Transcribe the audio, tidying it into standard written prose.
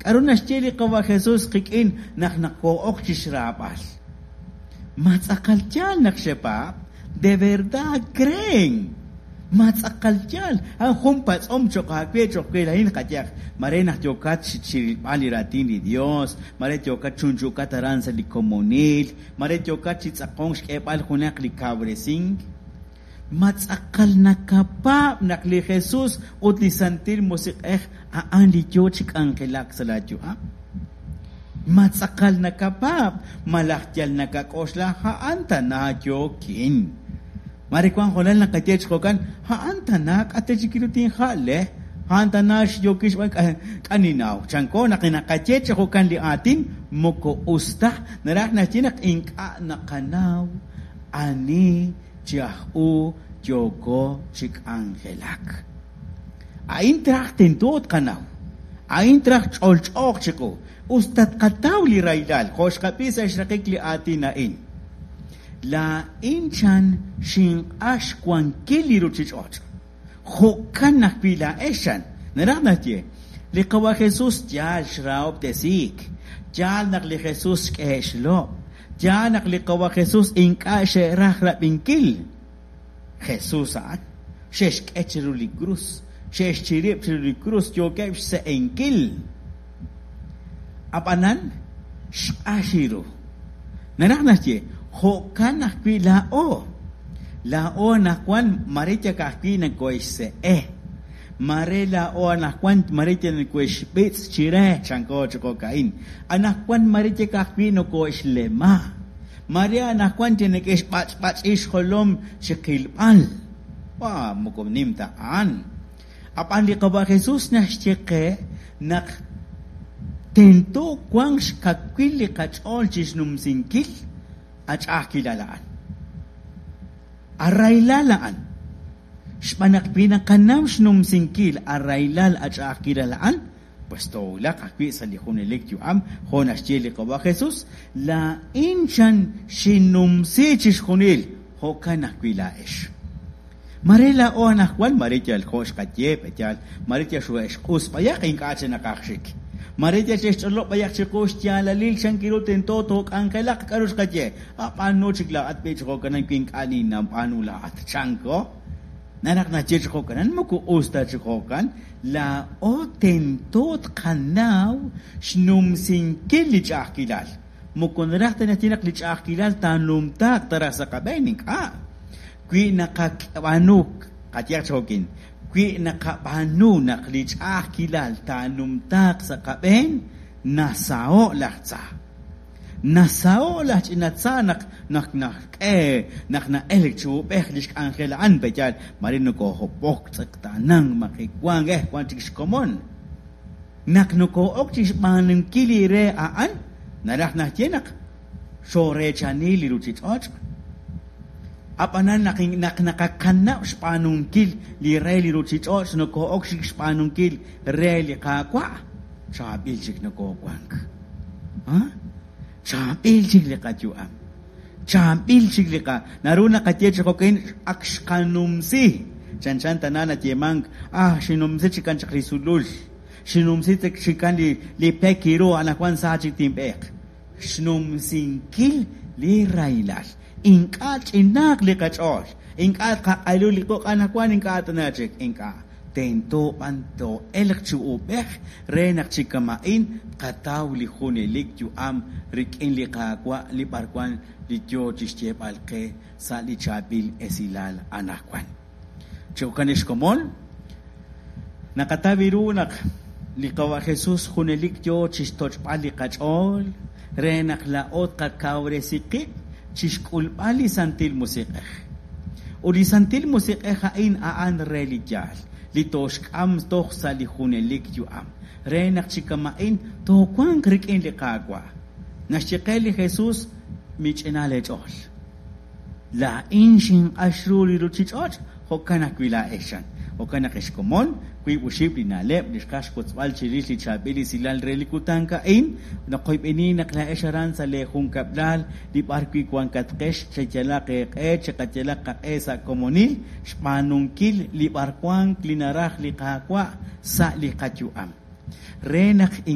K'aru naxye li Qawa' Jesus qik'in naq naqoo'ok chi xraab'al? Ma tz'aqal yaal naq xepaab'? De verdad creen? Ma tz'aqal yaal? A'an jun patz'om cho'q aawe, cho'q we laa'in qayehaq. Mare naq yookat chi rilb'al li raatin li Yos, mare yookat chunchu'kat aran sa' li komonil, mare yookat chi tz'aqonk xk'eeb'al junaq li kawresink. Ma tz'aqal nakapaab' naq li Jesus ut li Santil Musiq'ej a'an li yo chi k'anjelak sa' laayu'am? Ma tz'aqal nakapaab' malaj yal nakak'oxla a'an tana yookin? Mare wank hoonal naqaye chi jo'kan, a'an tana k'a' ta chik ru tinja'le, a'an tana yookin xb'aan k'a' ninnaw. Chanko naq naqaye chi jo'kan li aatin moko us ta, naraj naxye naq ink'a' naqanaw ani chi aj u yooko chi k'anjelak. A'in traj tento tqanaw. A'in traj ch'olch'ooq chiqu. Us ta tqataw li rahilal, jo' xqab'i sa' xraqik li aatin a'in. Laa'in chan xinq'ax xwankil li ruuchich'och'. Jo'kan ajwi' laa'ex chan. Naraj naxye, li Qawa' Jesus yaal xrahob'tesiik. Yaal naq li Jesus xk'ehe' xlob'. Yaal naq li Qawa' Jesus ink'a' xe'raj rab'inkil. Jesus a'an. Xe'xk'e chiru li krus. Xe'xchirib' chiru li krus. Yookeb' xse'enkil. Ab'anan, xq'ax ru. Naraj naxye, jo'kan ajwi' laa'o. Laa'o anaqwan mare yal ka'ajwi' nakohe'xse'e. Mare laa'o anaqwan mare yal nakohe'xb'itz' chire, chanko chi jo'ka'in. Anaqwan mare yal ka'ajwi' nokohe'xlema. Mare anaqwan yal neke'xb'ach'b'ach'i xjolom chi qilb'al. Wa, moko nim ta a'an. Ab'an li Qawa' Jesus naxye qe naq tento wanq xkawil li qach'ool chi xnumsinkil a ch'a'ajkilal a'an. A rahilal a'an. Xb'aan naq wi naqanaw xnumsinkil a rahilal a ch'a'ajkilal a'an, pues toowulaq ajwi' sa' li junelik yu'am, jo' naxye li Qawa' Jesus, Laa'in chan xinnumsi chixjunil, jo'kan ajwi' laa'ex. Mare laa'o anaqwan, mare yal jo' xqaye, b'eyal, mare yal xoohe'xq'us b'ayaq, ink'a' chik naqaj xik. Mare yal xe'xch'olob' b'ayaq chiqu xyaalalil chan ru tento took'anjelaq, k'aru xqaye, Ab'aanu chik laa'at b'i' chi jo'kanan wi ink'a' ninnab'aanu laa'at, chanko. Naraj naxye chi jo'kanan, moko us ta chi jo'kan, laa'o tento tqanaw xnumsinkil li ch'a'ajkilal. Moko naraj ta naxye naq li ch'a'ajkilal taanumtaaq ta raj sa' qab'een, ink'a'. Wi naqab'aanu, qayehaq chi jo'kin, wi naqab'aanu naq li ch'a'ajkilal taanumtaaq sa' qab'een, nasaho' laj tza. Nasaho' laj ch'ina tza naq naq naxk'e naq na'elk chi uub'ej lix k'anjel a'an, pe'yaal mare nokohob'ok, tz'eqtaanank, majewank, eh, wan chik xkomon. Naq nokoo'ok chi xb'aanunkil li re a'an, naraj naxye naq xooreechani li ruuchich'och'. Ab'anan naq naq naqakanab' xb'aanunkil li re li ruuchich'och' nokoo'ok chik xb'aanunkil re li Qaawa', chaab'il chik nokoowank. Chaab'il chik li qayu'am. Chaab'il chik li qa. Naru naqaye chi jo'kan ak xqanumsi. Chanchan tana nayeemank, ah, xinumsi chikan chaq li sulul. Xinumsi chikan li, li pek ru, anaqwan sa chik tinb'eeq. Xnumsinkil li rahilal. Ink'a' ch'inaaq li qach'ool. Ink'a' tqaq'alu li quq' anaqwan ink'a' tana chik. Ink'a'. Tento b'an too'elq chi uub'ej re naq chi kama'in tqataw li junelik yu'am rik'in li Qaawa' li b'arwan li yoo chixyeeb'al qe sa' li chaab'il esilal anaqwan. Chi jo'kan ex komon, naqataw ru naq li Qawa' Jesus junelik yoo chixtoch'b'al li qach'ool re naq laa'o tqakawresi qib' chixk'ulb'al li Santil Musiq'ej. Ut li Santil Musiq'ej a'in a'an re li yaal, li tooxk'am toj sa' li junelik yu'am, re naq chi kama'in toowanq rik'in li Qaawa'. Naxye qe li Jesus, Mich'ina leech'ool. Laa'in xinq'ax ru li ruuchich'och', jo'kan ajwi' laa'ex, chan. Jo'kan naq, ex komon, wiib' oxib' li na'leb' li xqaj xwotzb'al chirix li chaab'il esilal re li kutan a'in, naqoyb'eni naq laa'ex aran sa' lee junkab'lal li b'ar wi' wankatqex, cheyalaq eeq'e, chiqayalaq qaq'e sa' komonil xb'aanunkil li b'arwank li naraj li Qaawa' sa' li qayu'am. Re naq.